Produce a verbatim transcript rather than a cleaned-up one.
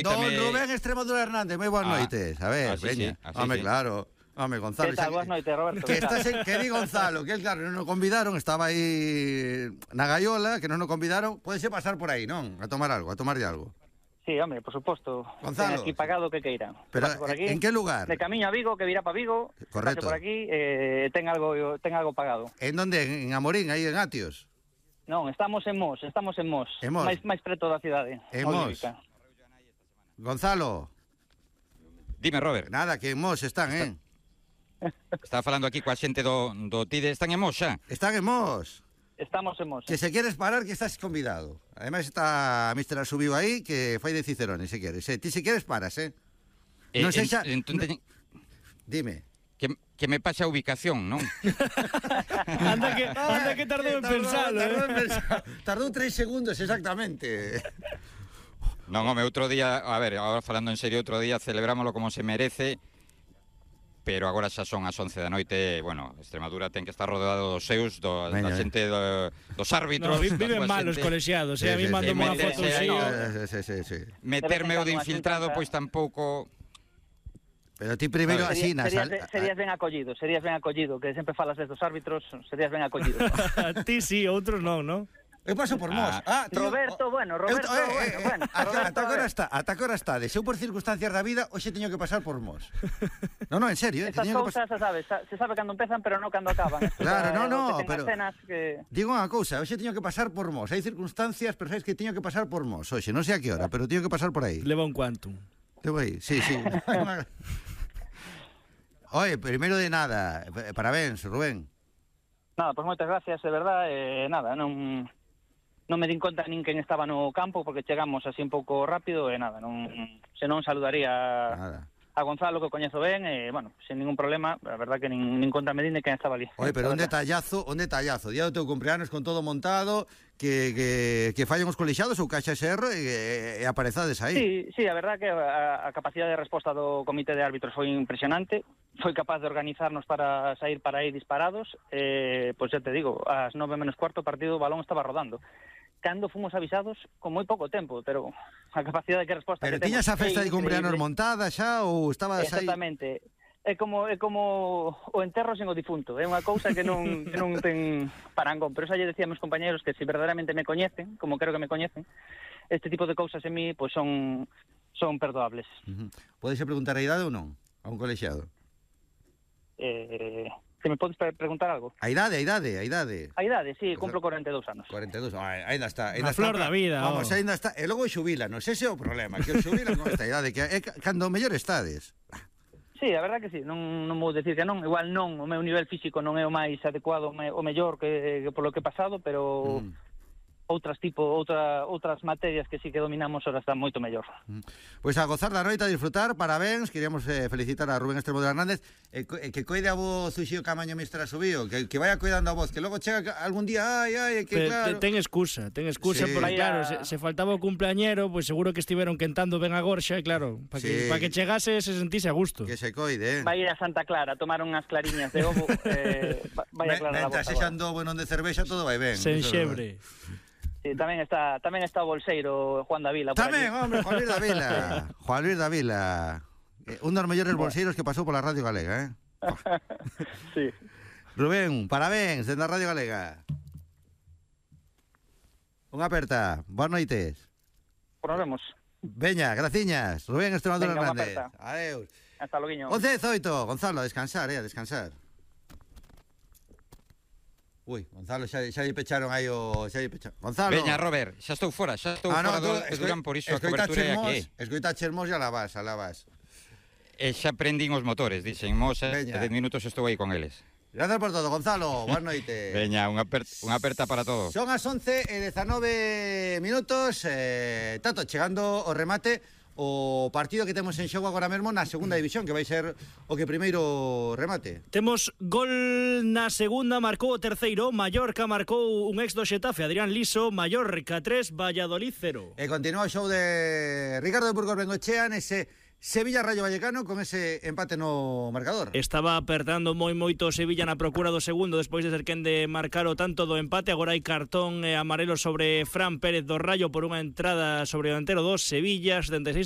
Don Rubén Extremadura Hernández, moi boas ah, noites. A ver, así veña. Sí, Home, sí. claro. Home, Gonzalo. Que tal, boas noites, Roberto. Que, estás en, que di Gonzalo, que claro, non nos convidaron, estaba aí na gaiola, que non nos convidaron. Pódese pasar por aí, non? A tomar algo, a tomarlle algo. Sí, hombre, por suposto. Gonzalo. Ten aquí pagado que queiran. Pero, por aquí, en que lugar? De camiño a Vigo, que virá para Vigo. Correcto. Pase por aquí, eh, ten algo ten algo pagado. En donde? En Amorín, aí en Atios? Non, estamos en Mos, estamos en Mos. En Mos. Máis, máis preto da cidade. En Mos. Gonzalo. Dime, Robert. Nada, que en Mos están, eh? Estaba falando aquí coa xente do, do TIDE. Están en Mos xa? Están en Mos. Estamos en Mos. Que se queres parar, que estás convidado. Además está mister Asubiu aí, que fai de Cicerone, se queres. Eh? Ti se queres paras, eh? eh non sei xa... En, en, en, Dime. Que, que me pase a ubicación, non? anda, que, anda que tardou en pensarlo, tardou, eh? en pensar. Tardou tres segundos, exactamente. Non, home, outro día, a ver, agora falando en serio, outro día celebrámoslo como se merece, pero agora xa son as once da noite, bueno, Extremadura ten que estar rodeado dos seus, do, da xente do, dos árbitros. No, viven mal os colexiados, eh? A mí mando unha foto así. Sí, sí, sí. Meterme o de infiltrado, pois tampouco... Pero ti primeiro así nas... Serías, serías ben acollido, serías ben acollido, que sempre falas desde os árbitros, serías ben acollido. Ti sí, outros non, non? Eu paso por Mos. Ah, ah, tío, Roberto, bueno, Roberto, eu, eh, bueno, bueno. Ata, ata agora está, ata agora está. De seu por circunstancias da vida, hoxe teño que pasar por Mos. Non, non, en serio, eh, estas cousas, se sabe, se sabe cando empezan, pero non cando acaban. Claro, non, non, pero que... digo unha cousa, hoxe teño que pasar por Mos. Hai circunstancias, pero sabes que teño que pasar por Mos. Hoxe, non sei a que hora, pero teño que pasar por aí. Leva un quantum. Levo aí, sí, sí. Oye, primeiro de nada, parabéns, Rubén. Nada, pois moitas gracias, de verdad, eh, nada, non... non me din conta nin quen estaba no campo porque chegamos así un pouco rápido e nada, non senón saludaría nada. a Gonzalo, que o coñezo ben, e, bueno, sin ningún problema, a verdad que nin, nin conta me din de quen estaba ali. Oye, pero un detallazo, un detallazo, día do teu cumpleanos con todo montado, que, que, que fallen os colexados ou caixa S R e, e aparezades aí. Sí, sí, a verdad que a, a capacidade de resposta do comité de árbitros foi impresionante, foi capaz de organizarnos para sair para aí disparados, e, pois xa te digo, ás nove menos cuarto o partido o balón estaba rodando. Cando fomos avisados con moi pouco tempo, pero a capacidade de que resposta pero que temos... Pero tiñas a festa de cumpleanos montada xa ou estabas aí... Exactamente. É como é como o enterro sen o difunto, é unha cousa que non que non ten parangón, pero xa lle decía a meus compañeros que se verdadeiramente me coñecen, como creo que me coñecen, este tipo de cousas en mí pois pues son son perdoables. Uh-huh. Podes preguntar a idade ou non a un colexiado? Eh, que me podes preguntar algo? A idade, a idade, a idade. A idade, sí, cumplo cuarenta e dous anos. cuarenta e dous, ah, ainda está, ainda a está. flor da vida. Vamos, oh. ainda está. E logo xubilanos, ese é o problema, que o xubilan con esta idade, que é cando mellor estades. Sí, a verdad que sí, non, non vou decir que non, igual non, o meu nivel físico non é o máis adecuado, o, me, o mellor que, que polo que he pasado, pero mm. outras tipo, outra, outras materias que sí que dominamos ahora están moito mellor. Mm. Pois pues a gozar da noite, a disfrutar, parabéns, queríamos eh, felicitar a Rubén Extremadura Hernández, eh, eh, que coide a voz Uxío Camaño mister Asubío, que, que vaya cuidando a voz, que logo chega algún día, ai, ai, que Pero, claro... Ten excusa, ten excusa, sí. Porque claro, se, se faltaba o cumpleañero, pois pues seguro que estiveron quentando ben a gorxa, claro, para que, sí. pa que chegase se sentise a gusto. Que se coide, eh. Vai ir a Santa Clara, tomar unhas clariñas de ovo, eh, vai a aclarar a voz. Mentre sexan do bueno de cervexa, todo vai ben. Sen xebre. Sí, tamén está tamén está o bolseiro Juan da Vila. Tamén, hombre, Juan Luis da Vila. Juan Luis da Vila. Eh, un dos mellores bolseiros que pasou pola Radio Galega, eh? Sí. Rubén, parabéns, dende a Radio Galega. Unha aperta. Boas noites. Por nos vemos. Veña, graciñas. Rubén Extremadura Hernández. Adeus. Hasta loguiño. once dezoito, Gonzalo, a descansar, eh, a descansar. Ui, Gonzalo, xa, xa lle pecharon aí o... Xa lle pecharon. Gonzalo. Veña, Robert, xa estou fora, xa estou ah, fora no, do Durán, por iso a cobertura é aquí. Escoitaches Mos e alá vas, alá vas. E xa prendín os motores, dixen Mos, e dez minutos estou aí con eles. Gracias por todo, Gonzalo, boas noites. Veña, unha aperta, unha aperta para todos. Son as once e dezanove minutos, eh, tato, chegando o remate o partido que temos en xogo agora mesmo na segunda división, que vai ser o que primeiro remate. Temos gol na segunda, marcou o terceiro, Mallorca marcou un ex do Xetafe, Adrián Liso, Mallorca tres, Valladolid cero. E continúa o show de Ricardo de Burgos Bengochea nese Sevilla-Rayo Vallecano con ese empate no marcador. Estaba apertando moi moito Sevilla na procura do segundo despois de ser quen de marcar o tanto do empate. Agora hai cartón eh, amarelo sobre Fran Pérez do Rayo por unha entrada sobre o delantero dos Sevilla, setenta e seis